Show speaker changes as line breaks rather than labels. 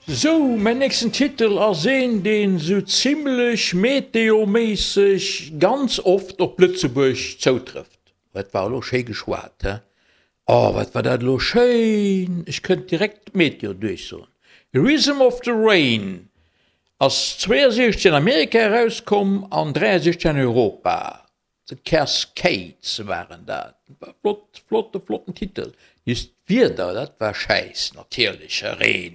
Sou, mäin nächsten Titel ass een, deen sou zimlech meteoméisseg ganz oft op Lëtzebuerg zoutrëfft. Dat war elo schéi geschwat, he? Oh, wat war dat elo schéin! Ech kënnt direkt d'Meteo duerchsoen. Rhythm of the Rain ass 62 an Amerika erauskomm an 63 an Europa. The Cascades waren dat. Flott, flotte, flotten Titel. Just d'Wieder, dat war schäiss, natierlech, Reen.